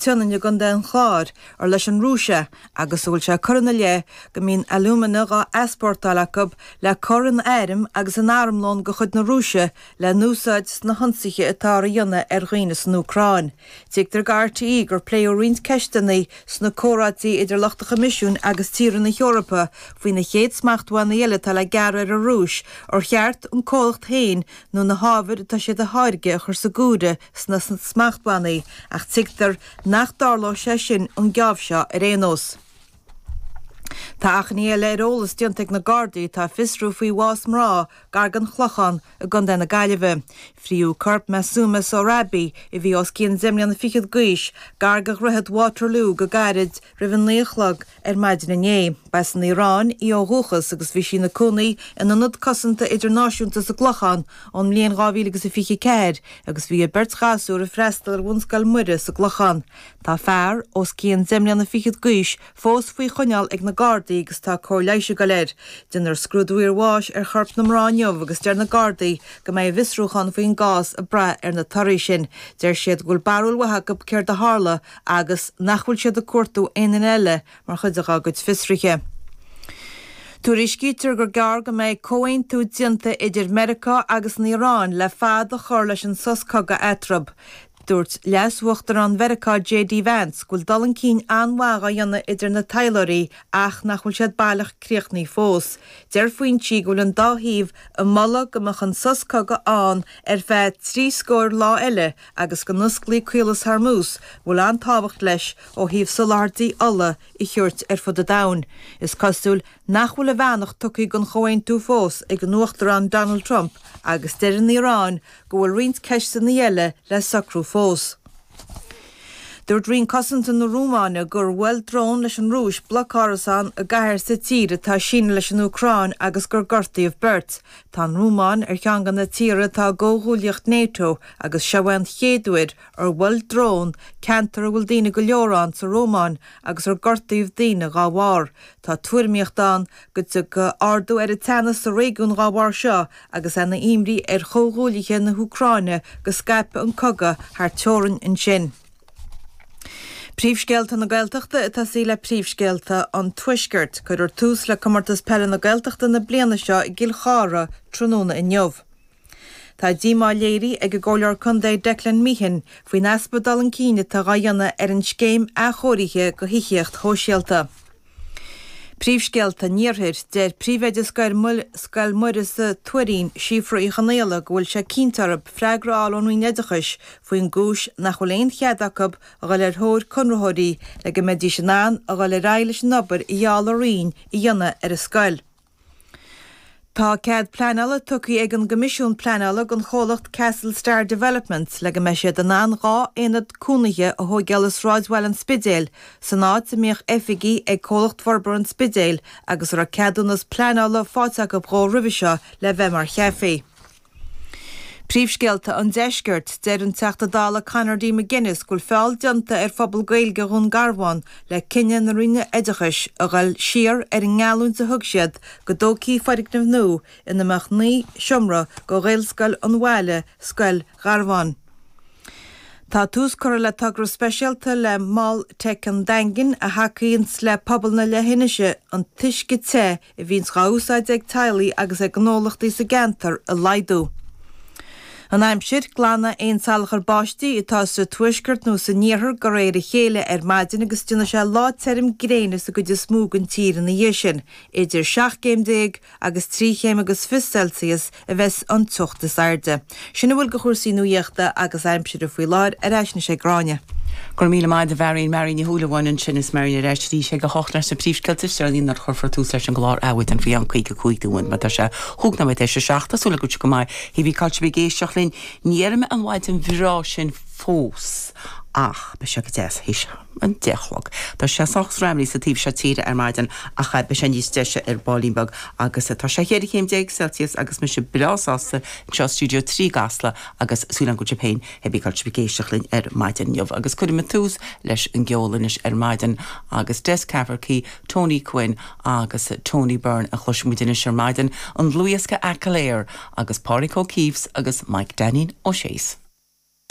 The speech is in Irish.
tSionainn i gContae an Chláir ar leis an Rúis é agus a bhfuil sé curtha ina leith go mbíonn alúmana dhá easpórtáil acu le cur in airm agus in armlón de chuid na Rúise le n-úsáid sna hionsaithe atáthar a dhéanamh ar dhaoine san Úcráin. Tuigtear do RTÉ gur pléadh roinnt ceisteanna sna comhráití idir lucht an Choimisiúin agus tíortha na hEorpa faoi na chéad smachtbhannaí eile atá le gearradh ar an Rúis, ar cheart an comhlacht féin nó na hábhair atá siad a tháirgeadh a chur sa gcomhaireamh sna smachtbhannaí, ach tuigtear nach dtarlóidh sé sin an geábh seo ar aon nós. Tá achainí eile ar eolas déanta ag na Gardaí atá ag fiosrú faoi bhás mná gar don Chlochán i gContae na Gaillimhe. Fríodh corp Masooma Sohrabi, a bhí os cionn deich mbliana fichead d'aois, gar do Dhroichead Waterloo go gairid roimh a naoi a chlog ar maidin inné. Ba as an Iaráin í ó dhúchas agus bhí sí ina cónaí in ionad cosanta idirnáisiúnta sa gClochán ón mbliain 2024 agus bhí a beirt ghasúr ag freastal ar Bhunscoil Muire sa gClochán. Tá fear, os cionn deich mbliana fichead d'aois, fós faoi choinneáil ag na Gardaí agus tá cóir leighis ag dul air. Déanfar scrúdú iarbháis ar chorp na mná inniu agus deir na Gardaí go mbeidh a bhfiosrúchán faoin gcás ag brath ar na torthaí sin. Deir siad go bhfuil barúil mhaith acu céard a tharla agus nach bhfuil siad ag cuartú aon duine eile mar chuid dá gcuid fiosruithe. Tuairiscítear gur gearr go mbeidh comhaontú déanta idir Meiriceá agus an Iaráin le fad a chur leis an sos cogaidh eatarthu. Dúirt Leas-Uachtarán Mheiriceá JD Vance go bhfuil dul chun cinn an-mhaith dhá dhéanamh idir na taidhleoirí ach nach bhfuil siad baileach críochnaithe fós. Deir foinsí go bhfuil an dá thaobh ag moladh go mbeadh an sos cogaidh ann ar feadh trí scóir lá eile agus go n-osclaí Caolas Hormuz, a bhfuil an-tábhacht leis ó thaobh soláthairtí ola a thabhairt ar fud an domhain. Is cosúil nach bhfuil a bheannacht tugtha don chomhaontú fós ag an Uachtarán Donald Trump agus deir an Iaráin go bhfuil roinnt ceisteanna eile le socrú fós. Dúirt Roinn Cosanta na Rómáine gur bhuail drón leis an Rúis bloc árasán i gcathair sa tír atá ag síneadh leis an Úcráin agus gur gortaíodh beirt. Tá an Rómáin ar cheann de na tíortha atá i gcomhghuaillíocht NATO agus seo é an chéad uair ar bhuail drón ceantar a bhfuil daoine go leor ann sa Rómáin agus ar gortaíodh daoine dhá bharr. Tá tuairimíocht ann go dtiocfaidh ardú ar an teannas sa réigiún dhá bharr seo agus é ina imní ar chomhghuaillithe na hÚcráine go scaipfidh an cogadh thar teorainn ansin. Príomhscéalta na Gaeltachta ag tosaí le príomhscéalta an Tuaiscirt. Cuirfear tús le Comórtas Peile na Gaeltachta na bliana seo i gCill Chartha tráthnóna inniu. Tá díomá léirithe ag an gComhairleoir Contae Declan Meehan faoin easpa dul chun cinn atá dhá dhéanamh ar an scéim athchóirithe do thithíocht shóisialta. Príomhscéalta an Iarthair, Deir príomhoide Scoil Mhuire sa Tuairín, Síofra Uí Chonaola, go bhfuil sé cinnte orthu freagra a fháil ón Roinn Oideachais faoin gcúis nach bhfuil aon chead acu a dhul ar thóir conraitheoirí le go mbeidís in ann a dhul ar aghaidh leis an obair a gheall an Roinn a dhéanamh ar an scoil. Tá cead pleanála tugtha ag an gCoimisiún Pleanála don chomhlacht Castle Star Developments le go mbeidh siad in ann 2 aonad cónaithe a thóigeáil i sráidbhaile an Spidéil, san áit a mbíodh oifigí ag Comhlacht Forbartha an Spidéil agus a raibh ceadúnas pleanála faighte acu dhó roimhe seo le bheith mar chaifé. Príomhscéalta an Deiscirt, Deir an Teachta Dála Conor D. McGuinness go bhfuil feall déanta ar phobal Gaeilge Dhún Garbhán le cinneadh na Roinne Oideachais a ghoil siar ar an ngeallúint a thug siad go dtógfaí foirgneamh nua ina mbeadh 9 seomra do Ghaelscoil an bhaile, Scoil Gharbháin. Tá tús curtha le togra speisialta le Mol Teic an Daingin a thacaíonns le pobal na leithinise an t-uisce te a bhíonns dhá úsáid ag teaghlaigh agus ag gnólachtaí sa gceantar a laghdú. An aimsir, Glanfaidh aon salachar báistí atá sa tuaisceart nó san iarthar de réir a chéile ar maidin agus déanfaidh sé lá tirim gréine sa gcuid is mó den tír ina dhiaidh sin. Idir 17 gcéim agus 3 chéim agus fiche Celsius a bheas an teocht is airde. Sin a bhfuil de chúrsaí nuaíochta agus aimsire faoi láthair, ar ais anois ag Gráinne. Go raibh míle maith agat a Mharion, Marion Ní Shúilleabháin ansin is Marion ar ais arís ag a hocht leis na príomhscéalta is deireanaí nuair a chuirfear tús leis an gclár Adhmhaidin faoi cheann 55 nóiméad mar tá sé chúig nóiméad théis a seacht. Tá súil agam go bhfuil sibh go maith. Hé brí cá bhfuil sibh ag éisteacht linn. Ní dhéarfaidh mé an mhaidin bhreá sin fós ach beidh sé go deas théis an deich a chlog. Tá sé sách screamhnaí sa taobh seo tíre ar maidin ach beidh sé níos deise ar baillín beag agus tá sé cheithre chéim déag Celsius agus mise breá sásta anseo i Stiúideo 3 i gCasla agus súil agam go bhfuil sibh féin hé brí cá bhfuil sibh ag éisteacht linn ar maidin inniu agus cuirfidh muid tús leis an gceol anois ar maidin agus Des Cafferkey, Tony Quinn agus Tony Byrne a chloisfidh muid anois ar maidin, an dlúthdhiosca Achill Air agus Pádraig O'Keeffe agus Mike Daneen Ó Sé's.